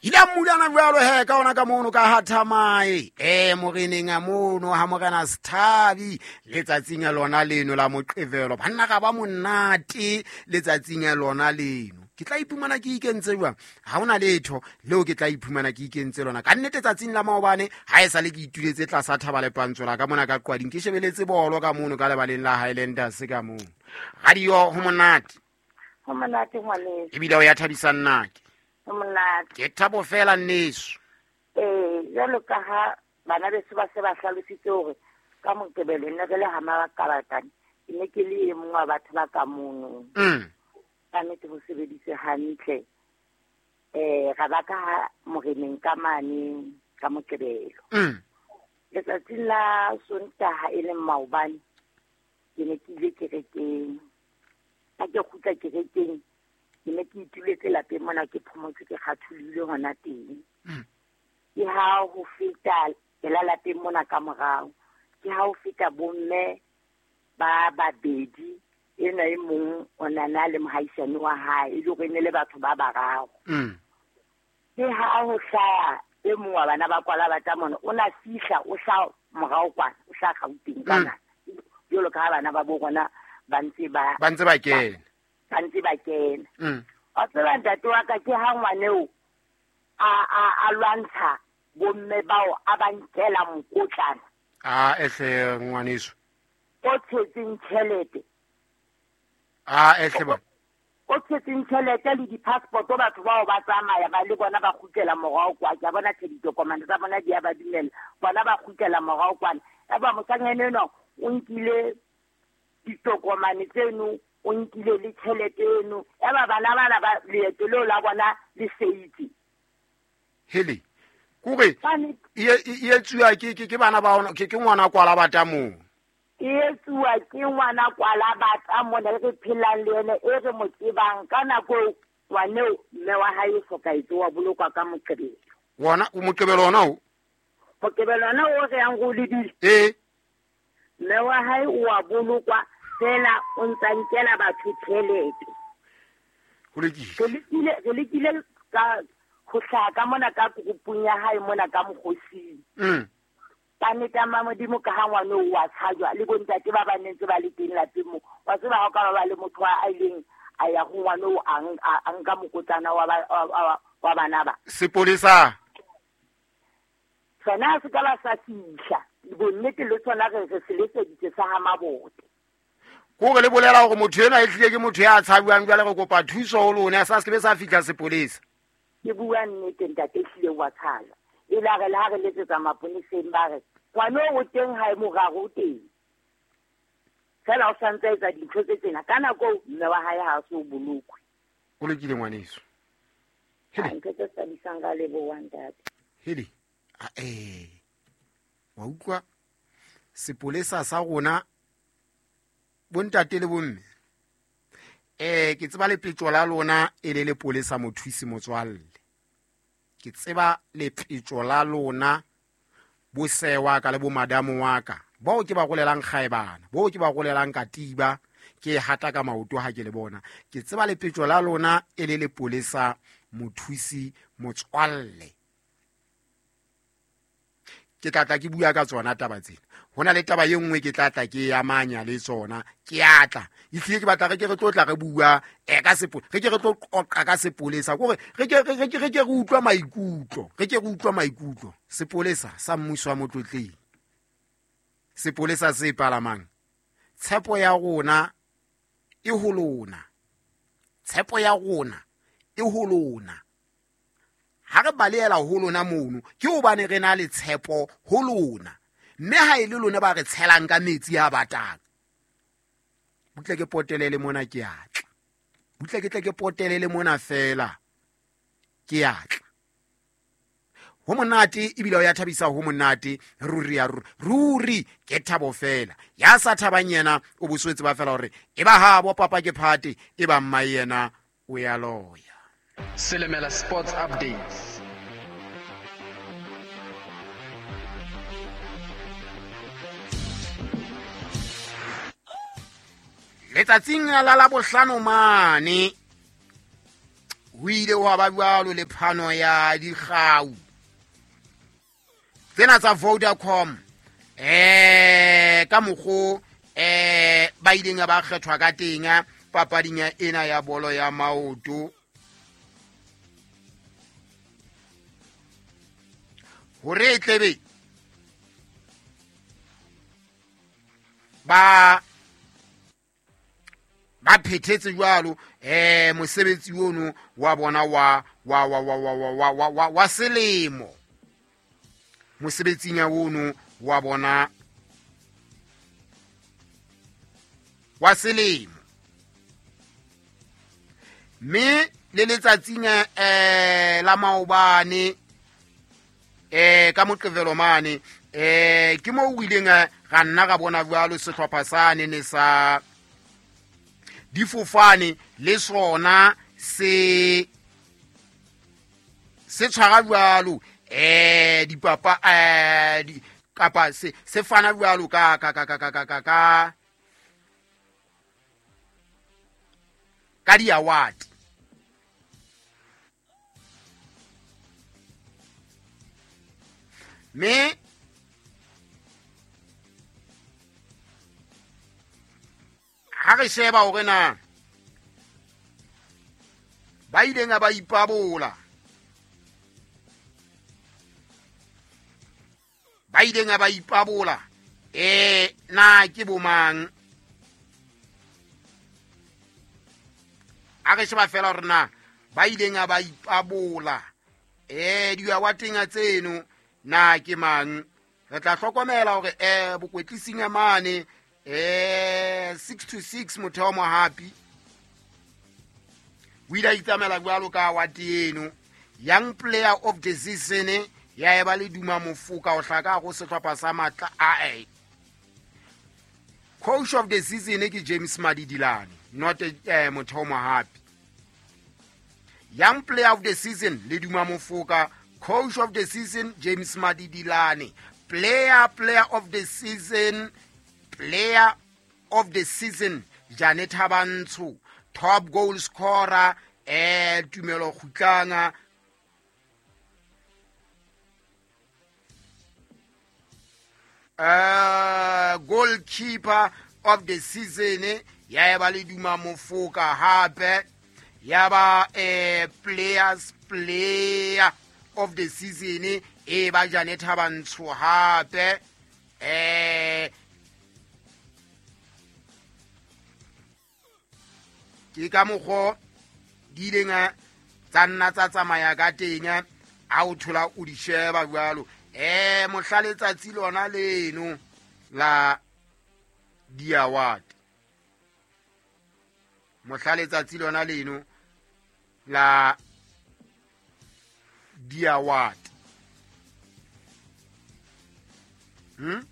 Ile a mmulana jalo he ka ona ka mono ka hathamae e moreneng a mono ha morena sethabi letsatsing a lona leno la moqevelo. Banna ga ba monate letsatsing a lona leno. Ke tla iphumana ke ikentse jwang? Ha hona letho leo ke tla iphumana ke ikentse lona. Ka nnete tsatsing la maobane ha e sale ke ituletse tlasa thaba lepantso la ka mona ka qwading, ke shebeletse bolo ka mono ka lebaleng la Highlanders ka mono. Radio ho monate. Ho monate ngwaneso. Ebile o ya thabisa nnake. Ho monate. Ke thabo fela nneso. Jwalo ka ha bana beso ba se ba hlalositse hore ka Moqebelo ne re le ha Makabatane, ke ne ke le e mong wa batho ba ka mono. Ka nnete ho sebeditse hantle. Ra ba ka moreneng ka mane ka Moqebelo. Letsatsing la Sontaha e leng maobane, ke ne ke ile kerekeng. Ha ke kgutla kerekeng, ke ne ke ituletse lapeng mona ke phomotse ke kgatholohile hona teng. Ke ha ho feta pela lapeng mona ka morao, ke ha ho feta bomme ba babedi, enwa e mong o na na le mohaisane wa hae, e le hore e ne le batho ba bararo. Ke ha ho hlaha e mong wa bana ba kwala ba tla mona, o na fihla, o hlaha morao kwana, o hlaha Gauteng kana. Jwalo ka ha bana ba bo rona ba ntse ba Ba ntse ba kena. Ba ntse ba kena. Wa tseba ntate wa ka, ke ha ngwaneo a lwantsha bomme bao, a ba nkela mokotlana. A ehle ngwaneso. O tshetseng tjhelete. A ehle ba. O tshetseng tjhelete le di-passport, batho bao ba tsamaya ba le bona ba kgutlela morao kwa. Ke a bona tjhe ditokomane tsa bona di a ba dumella. Bona ba kgutlela morao kwana. Eba moshanyana enwa o nkile ditokomane tseno, o nkile le tjhelete eno. Eba bana bana ba leeto leo la bona le seitse. Hele, kore Bane- e etsuwa ke bana ba ona, ke ngwana kwala ba tamong. E etsuwa ke ngwana kwala ba tamong, re phelang le ene, e re mo tsebang. Ka nako eo, ngwaneo mme wa hae o hlokahetse, wa bolokwa ka Moqebelo. Wona, o Moqebelo ona o? Moqebelo ona o re yang go lebile. Mme wa hae o wa bolokwa fela, o ntsa nkela batho tjhelete. Ho lokile. Re lekile ka ho hlaha ka mona ka groupung ya hae mona ka mokgosing. Ka nnete ya Modimo, ka ha ngwana o wa tshajwa le bontate ba ba nentse ba le teng lapeng moo. Wa tseba ha o ka ba le motho a ileng a ya ho ngwana o a nka mokotlana wa bana ba. Sepolesa. Sona se ka ba sa fihla. Bonnete le tsona re se letseditse sa ha Mabote. Kore le bolela hore motho enwa e hlile ke motho ya tshabuang, jwale re kopa thuso ho lona, sa se ke be sa fihla sepolesa. Ke bua nnete ntate, ehlile wa tshajwa. E la re le ha re letsetsa maponeseng ba re, ngwana o teng hae moraro o teng. Fela o santse a etsa dintho tse tsena. Ka nako eo, mme wa hae ha a so bolokwe. O lokile ngwaneso. Ha, ntho tse thabisang ka leboha ntate. Hele. Wa utlwa sepolesa sa rona bontate le bomme. Ke tseba lepetjo la lona e le lepolesa mothusi motswalle. Ke tseba lepetjo la lona bosewa ka le bo madamo wa ka. Bao ke ba rolelang kgaebana, bao ke ba rolelang katiba, ke hata ka maoto ha ke le bona. Ke tseba lepetjo la lona e le lepolesa mothusi motswalle. Ke tla tla ke bua ka tsona taba tsena. Ho na le taba e nngwe ke tla tla ke amanya le tsona. Ke a tla. Ehlile ke batla re ke re tlo tla re bua, ka re ke re tlo qoqa ka sepolesa. Ke hore re ke, re, re ke, re ke re utlwa maikutlo. Re ke re utlwa maikutlo. Sepolesa sa mmuso wa Motlotleng. Sepolesa se palamang. Tshepo ya rona e ho lona. Tshepo ya rona e ho lona. Ha re balehela ho lona mono, ke hobane re na le tshepo ho lona. Mme ha e le lona ba re tshelang ka metsi a batang. Butle ke potelele mona ke a tla. Butle ke tle ke potelele mona fela ke a tla. Ho monate ebile o ya thabisa, ho monate ruri ya ruri. Ruri ke thabo fela. Ya sa thabang yena o boswetse ba fela hore e ba habo papa ke phate, e ba mma yena o ya loya. Selemela Sports Updates. Letsatsing la Labohlano mane Ho ile hwa ba jwalo le phano ya dikgau tsena tsa Vodacom ka mokgo ba ileng ba kgethwa ka teng papading ena ya bolo ya maoto. Hore tlebe ba phethetse jwalo mosebetsi ono wa bona wa wa wa wa wa wa wa wa wa selemo, mosebetsing ya ono wa bona wa selemo. Mme le letsatsing la maobane ka Moqebelo mane ke mo o ileng ga nna ga bona jwalo sehlopha sane ne sa difofane le sona se tshwara jwalo dipapa kapa se fana jwalo ka ka ka ka ka ka ka ka di award. Me ha re sheba hore na ba ileng ba ipabola, ba ileng ba ipabola na ke bomang. A re sheba fela hore na ba ileng ba ipabola diawateng tseno na ke mang. Re tla hlokomela hore bokwetlising mane 6 to 6 Motheo Mohapi o ile a itsamaela jwalo ka award eno. Young Player of the Season ya eba le Duma Mofoka o hlaka go sehlopha sa Matla a. Coach of the Season ke James Madidilane, not Motheo Mohapi. Young Player of the Season le Duma Mofoka, Coach of the Season James Madidilane, Player of the Season, Player of the Season Janet Habantsho, Top Goal Scorer Tumelo Kgutlanga, Goalkeeper of the Season ya eba le Duma Mofoka hape, ya ba Player of the Season e ba Janet Habantsho hape. Ke ka mokgo di ileng tsa nna tsa tsamaya ka teng ha o thola o di sheba jwalo. Mohla letsatsi lona leno la di-award, mohla letsatsi lona leno la di-award. Mme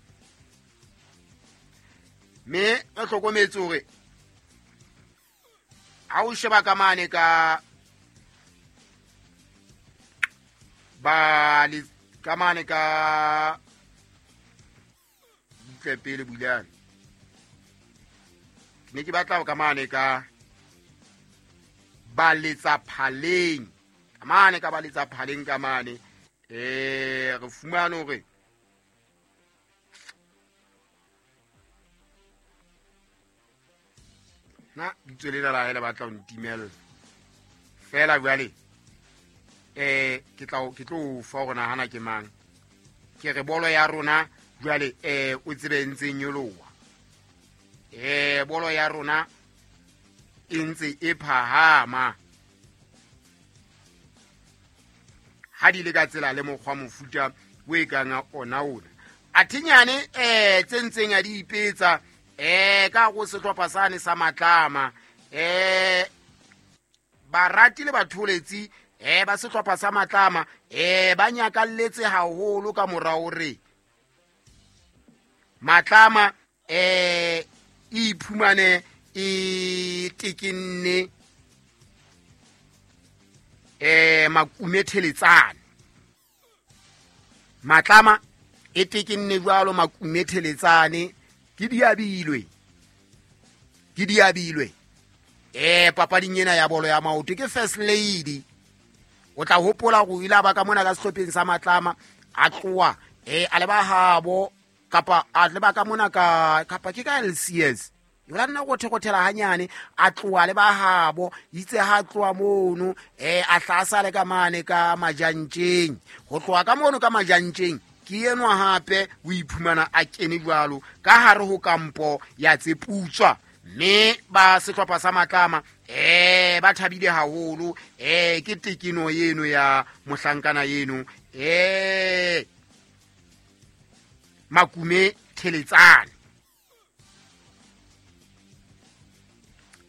re hlokometse hore ha o sheba ka mane ka ba le ka mane ka butle pele bulane, ke ne ke batla ka mane ka ba letsa phaleng, ka mane ka ba letsa phaleng ka mane re fumane hore na bitso lena la hae batla ho ntimella fela jwale. Ke tlo fa hore nahana ke mang. Ke re bolo ya rona jwale o tsebe ntse nyoloha, bolo ya rona e ntse e phahama ha di le ka tsela le mokgwa mofuta o e kang ona ona. Athinyane tse ntseng a di ipetsa ka go sehlopha sane sa Matlama, barati le batholetsi ba sehlopha sa Matlama ba nyakalletse haholo ka mora hore Matlama e iphumane e tekenne makumetheletsane. Matlama e tekenne jwalo makumetheletsane, ke diabilwe, ke diabilwe. Papading ena ya bolo ya maoto ke first lady. O tla hopola go ile ba ka mona ka sehlopheng sa Matlama a tloa a leba habo kapa a leba ka mona ka kapa ke ka LCS. Yola nna go thekothela hanyane a tloa le ba habo itse ha tloa mono a hlasa le ka mane ka majantjeng. Ho tloa ka mono ka majantjeng ke enwa hape o iphumana a kene jwalo ka hare ho kampo ya Tseputswa. Mme ba sehlopha sa Matlama ba thabile haholo ke tekeno eno ya mohlankana eno Makume Theletsane.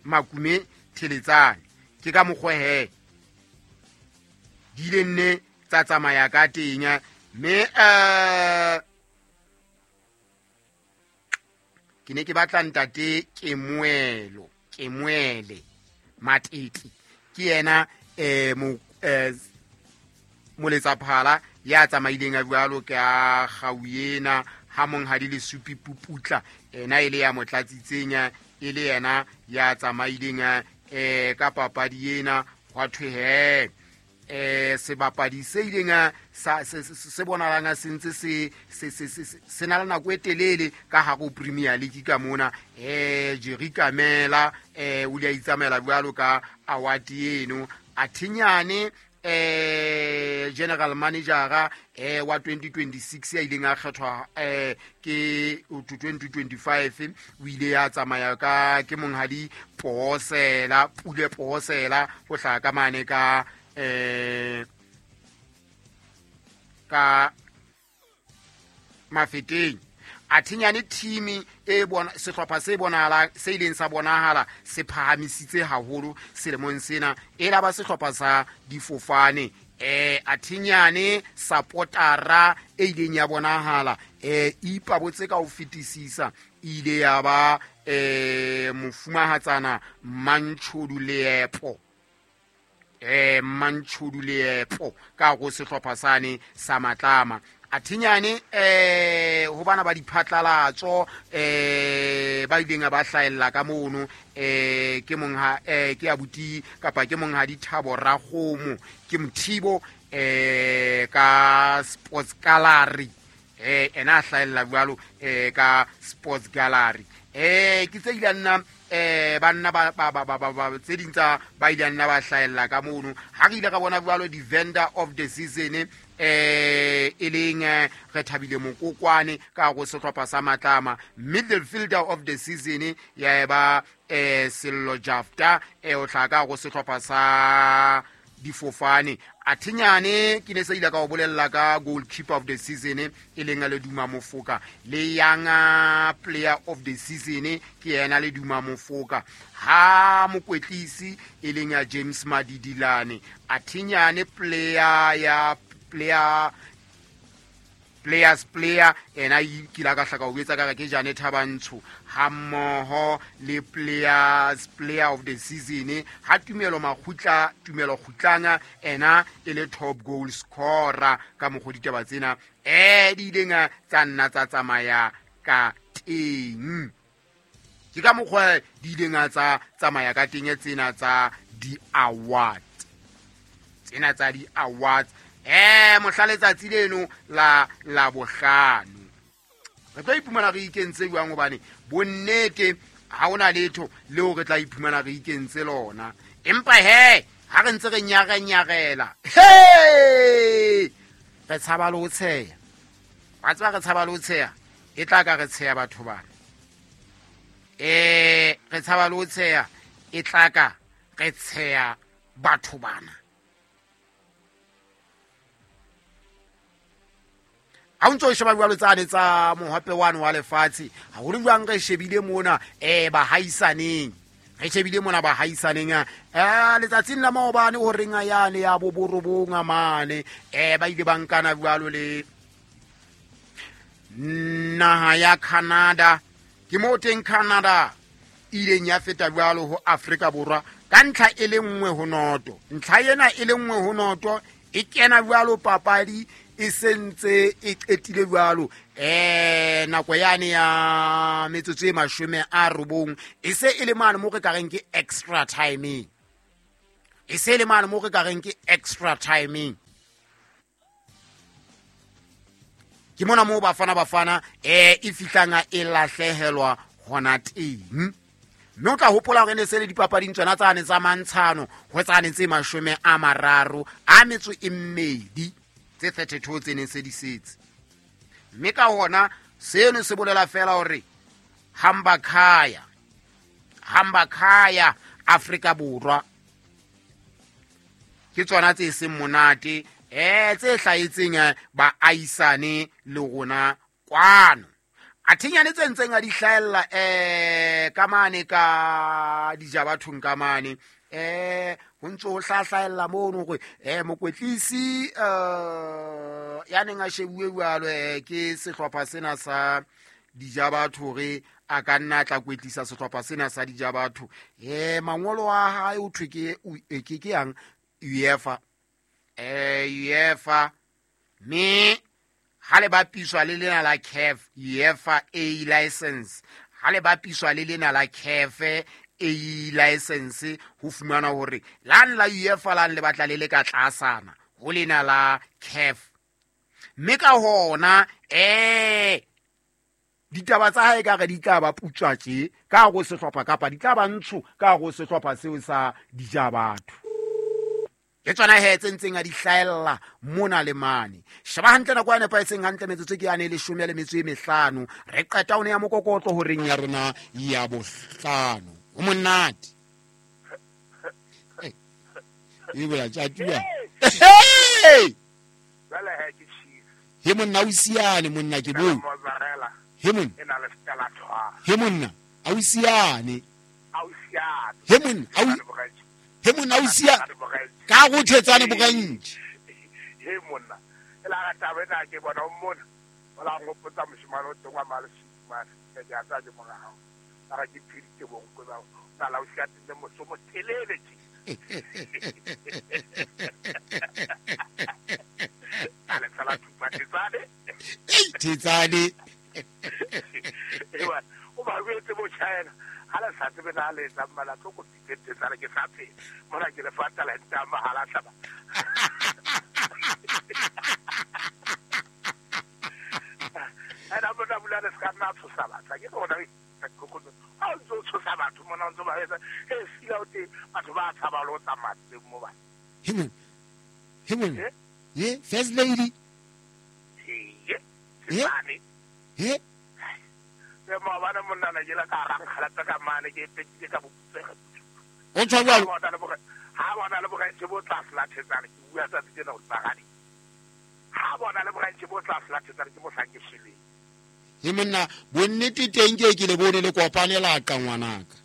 Makume Theletsane ke ka mokgwa he di ile nne tsa tsamaya ka teng. Mme ke ne ke batla ntate Kemuelo Kemuele Matete ke yena moletsaphala ya tsamaileng a jwalo ka kgau ena ha monghadi le Supi Puputla ena e le ya motlatsitseng e le yena ya tsamaileng ka papadi ena. Hwa thwe he sebapadi se ileng sa se bonalang se ntse se na le nako e telele ka hare ho Premier League ka mona Jerry Kamela o ile a itsamaela jwalo ka award eno. Athinyane general manager wa 2026 ya ileng a kgethwa ke 2025 o ile ya tsamaya ka ke monghadi Posela Pule Posela ho hlaha ka mane ka ka Mafeteng. Athinyane team e bona sehlopha se bonahala se ileng sa bonahala se phahamisitse haholo selemong sena e la ba sehlopha sa difofane. Athinyane supportera e ileng ya bonahala ipabotse ka ho fetisisa ile ya ba mofumahatsana Mantshodu Leepo Mantshodu Leepo ka go sehlopha sane sa Matlama. Athinyane ho bana ba diphatlalatso ba ileng ba hlahella ka mono ke mongha ke abuti kapa ke monghadi Thabo Rakgomo ke Mothibo ka Sports Gallery ena a hlahella jwalo ka Sports Gallery. Ke tse ile nna banna ba tse ding tsa ba ile nna ba hlahella ka mono. Ha re ile ka bona jwalo di vendor of the season e leng re thabile Mokokwane ka go sehlopha sa Matlama. Midfielder of the season ya ba Sello Jafta o hlaka ka go sehlopha sa difofane. Athinyane ke ne se ile ka o bolella ka goalkeeper of the season e leng le Duma Mofoka le young player of the season ke yena le Duma Mofoka. Ha mokwetlisi e leng ya James Madidilane. Athinyane player ya player players player ena ke la ka hlaka o etsa ka ke Jane Thabantsho ha mmoho le players player of the season ha Tumelo Makgutla Tumelo Kgutlanga ena e le top goal scorer ka mokgwa ditaba tsena di ileng tsa nna tsa tsamaya ka teng. Ke ka mokgwa di ileng tsa tsamaya ka teng tsena tsa di-award tsena tsa di-awards mohla letsatsi leno la Labohlano. Re tlo iphumana re ikentse jwang hobane bonnete ha hona letho leo re tla iphumana re ikentse lona. Empa he ha re ntse re nyarenyarela he re tshaba le ho tsheya. Wa tseba re tshaba le ho tsheya e tla ka re tsheya batho bana. Re tshaba le ho tsheya e tla ka re tsheya batho bana. Ha o ntso o sheba jwalo tsane tsa mohape wane wa lefatshe haholo jwang re shebile mona bahaisaneng re shebile mona bahaisaneng letsatsing la maobane ho reng a yane ya boborobong a mane ba ile ba nkana jwalo le naha ya Canada. Ke mo teng Canada ileng ya feta jwalo ho Afrika Borwa ka ntlha e le nngwe ho noto. Ntlha ena e le nngwe ho noto e kena jwalo papadi e sentse e qetile jwalo nako yane ya metsotso e 90 e se e le mane mo re ka reng ke extra timing. E se le mane mo re ka reng ke extra timing. Ke mona mo Bafana e fihlanga e lahlehelwa hona teng. Mme o tla hopola hore ne se le dipapading tsona tsane tsa mantshano ho tsane tse 32 tse 32 tse neng se di setse. Mme ka hona seno se bolela fela hore hamba khaya Afrika Borwa ke tsona tse seng monate tse hlahetseng ba aisane le rona kwano. Athinyane tse ntseng a di hlahella ka mane ka dijabathong ka mane ho ntse ho hlahlahella mono hore mokwetlisi ya neng a shebuwe jwalo ke sehlopha sena sa dijabatho hore a ka nna tla kwetlisa sehlopha sena sa dijabatho. Mangolo a hae o thwe ke yang UEFA UEFA me ha le bapiswa le lena la CAF UEFA A license, ha le bapiswa le lena la CAF A license ho fumana hore lan la UEFA lan le batla le le ka tlasana ho lena la CAF. Mme ka hona ditaba tsa hae ka re di tla ba putswa tje ka go sehlopha kapa di tla ba ntsho ka go sehlopha seo sa dijabatho. Ke tsona he tse ntseng a di hlahella mona le mane. Sheba hantle nako ya nepahetseng hantle metsotso ke yane 15 re qeta one ya mokokotlo horeng ya rona ya bohlano. O monate. E bola tjatuwa. Jwale he ke cheese. He monna o siane monna ke bo. He monna. E na le stela thwa. He monna a o siane. A o siane. He monna a o he monna o siane. Ka go thetsane bogantsi. He monna. E la ga taba ena ke bona o mona. O la ngopotsa moshimane o teng wa malesumane. Ke ja tsa ke mora hao. Ba ga ke pheditse bonkwe ba. Na la o siatile moso mo telele tje. Ale tsala thupa thetsane. Ei thetsane. Ewa o ba wetse bo China. Ha le sa tsebe na le tsa mmala tlo go tsana ke sa phela. Mona ke le fa talente ya mahala tlaba. Ena bona bula le ska nna tshosa batho. Ke bona ha o ntso tshosa batho mona o ntso ba etsa he sila o te batho ba tshaba lo tsamaya teng mo ba. He monna. Ye first lady. Ye. Ye. E maobane monna na ke la ka rankgalata ka mane ke petile ka boputsega. O tshwa jwalo. Ha bona le bogantsi bo tla flathetsana ke bua tsa tsena o tsagadi. Ha bona le bogantsi bo tla flathetsana ke mo sa ke shileng. He monna bonnete teng ke le bone le kopane la ka ngwanaka.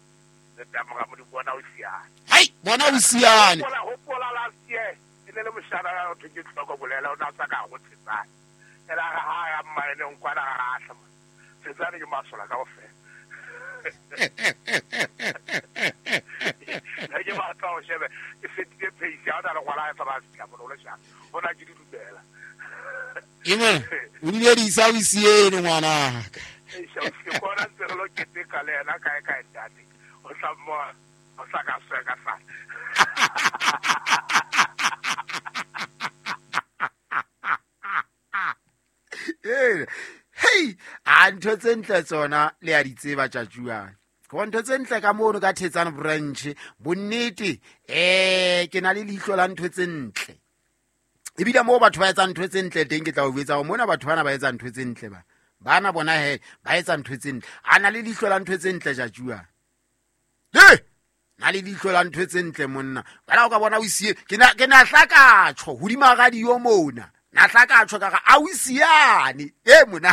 Le tamoga mo di bona o siane. Hai bona o siane. Hopola last year e ne le moshana o thwe ke tlhoko bolela o na tsa ka go tsetsana. Ela ga ha ya mmaene nkwana ga a tlama. Tsetsane ke masola kaofela. Ne ke batla ho shebe ke fetile pace ya ona le ngwana a tsamaya fihla mona o le shapa. Ona ke di dumela. Ime o ile di sa o siene ngwanaka. Ke bona ntse re lo keteka le yena kae kae ntate. O tla mo o sa ka sweka sa. Hey, a ntho tse ntle tsona le a di tseba tjatjuana. Go ntho tse ntle ka mono ka Thetsane branch bonnete ke na le leihlo la ntho tse ntle. Ebile mo batho ba etsa ntho tse ntle teng ke tla o botsa hore mona batho bana ba etsa ntho tse ntle ba. Bana bona he ba etsa ntho tse ntle. A na le leihlo la ntho tse ntle tjatjuana. He! Na le leihlo la ntho tse ntle monna. Bana o ka bona o siye ke na hlakatjho hodima radio mona. Na hlakatjho ka ga a o siane. E mona.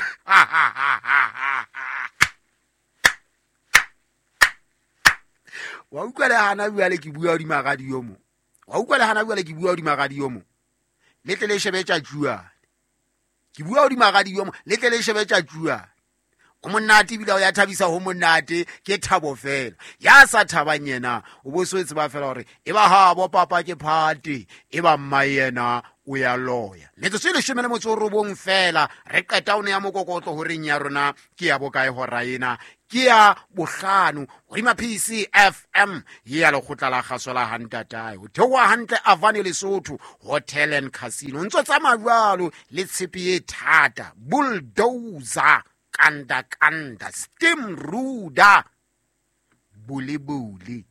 Wa utlwa le hana jwale ke bua hodima radio mo. Wa utlwa le hana jwale ke bua hodima radio mo. Le tle le shebe tjatjuana. Ke bua hodima radio mo, le tle le shebe tjatjuana. O monate ebile o ya thabisa ho monate ke thabo fela. Ya sa thabang yena o bo so tseba fela hore e ba ha bo papa ke phate e ba mma yena o ya loya. Metsotso e 19 fela re qeta o ne ya mokokotlo horeng ya rona ke ya bokae hora ena ke ya bohlano hodima PCFM ya lekgotla la kgaso la hantatae ho theoha hantle Avani Lesotho Hotel and Casino ntso tsamaya jwalo le tshepe e thata bulldozer kanda kanda steam ruda bule bule.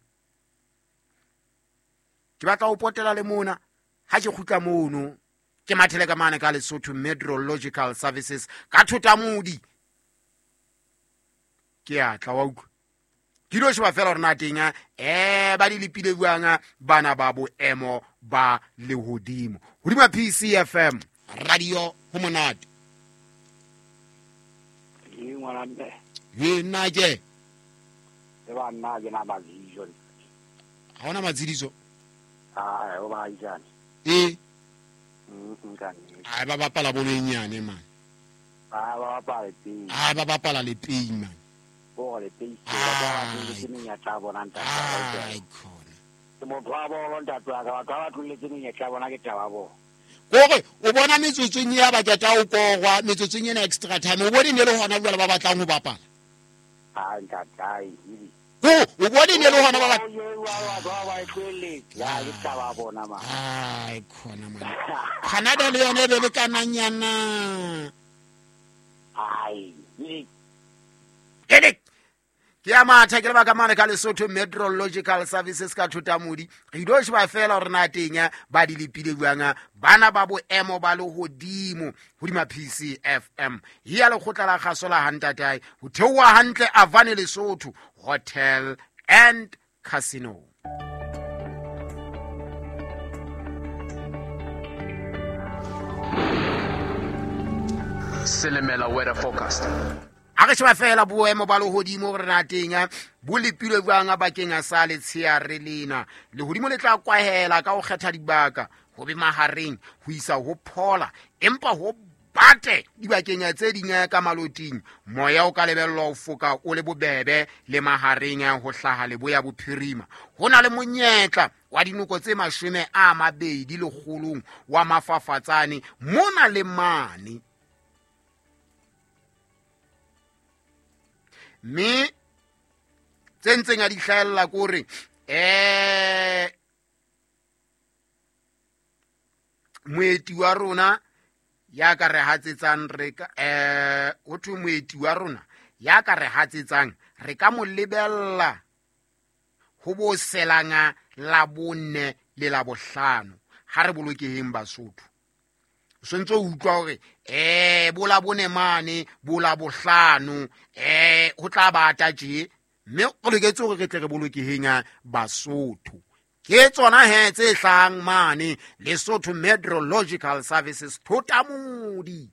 Ke batla ho potela le mona ha ke kgutla mono ke mathele ka mane ka Lesotho Meteorological Services ka Thotamodi ke a tla wa utlwa ke dilo sheba fela rona teng ba di lepile jwang bana ba boemo ba lehodimo hodima PCFM radio ho monate. Ke ngwana mme ye nna ke le ba nna ke na mazijo ha ona matsidiso a o ba ijane ai ba bapala bolo e nyane man ba bapala le ai ba bapala le pei man bo le pei ba ba le menyetla bona ntate ai khona ke motho wa bolo ntate wa ka batho ba tloletse menyetla bona ke taba bo kore o bona metsotsong ya ba keta o kogwa metsotsong ena extra time o bone ne le hona jwale ba batlang ho bapala a ntate ai o bone ne le hona ba ya ke taba bona ma ai khona man Canada le yona e be le kananyana ai Edek ke ya matha ke lebaka mane ka Lesotho Meteorological Services ka Thotamodi re ilo sheba fela hore na teng ba di lepile jwang bana ba boemo ba lehodimo hodima PCFM ya lekgotla la kgaso la hantatae ho theoha hantle Avani Lesotho Hotel and Casino. Selemela weather forecast. A re sheba fela boemo ba lehodimo hore na teng bo lepilwe jwang bakeng a sa letsheare lena. Lehodimo le tla kwahela ka ho kgetha dibaka ho be mahareng ho isa ho phola empa ho bate dibakeng tse ding ka maloting. Moya o ka lebellwa ho foka o le bobebe le mahareng ho hlaha leboya bophirima. Ho na le monyetla wa dinoko tse 20 lekgolong wa mafafatsane mona le mane. Mme tse ntseng a di hlahella ke hore moeti wa rona ya ka re hatsetsang re ka ho thwe moeti wa rona ya ka re hatsetsang re ka mo lebella ho bo selanga la bonne le la bohlano ha re bolokeheng Basotho. O sentse o utlwa hore bo la bone mane bo la bohlano ho tla bata tje mme o loketse hore re tle re bolokeheng Basotho. Ke tsona he tse hlahang mane Lesotho Meteorological Services Thotamodi.